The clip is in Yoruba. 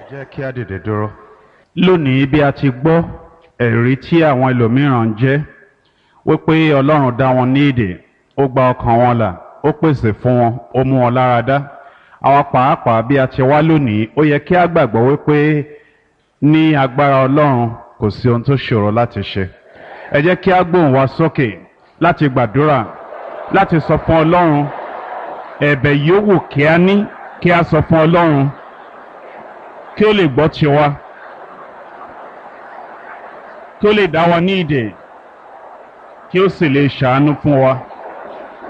Jẹ́ kí a dìde dúró. Lónìí, bí a ti gbọ́ ẹ̀rí tí àwọn ẹlòmíràn ń jẹ́ wípé Ọlọ́run dá wọn ní ìdè, ó gba ọkàn wọn là, ó pèsè fún wọn, ó mú wọn lára dá. Àwa pàápàá, bí a ti wá lónìí, ó yẹ kí a gbàgbọ́ wípé ní agbára Ọlọ́run, kò sí ohun tó ṣòro láti ṣe. Ẹ jẹ́ kí a gbóhùn wa sókè láti gbàdúrà, láti sọ fún Ọlọ́run ẹ̀bẹ̀ yòówù kí a ní, kí a sọ fún Ọlọ́run kí ó lè gbọ́ tiwa, kí ó lè dá wa ní ìdè, kí ó sì lè ṣàánú fún wa.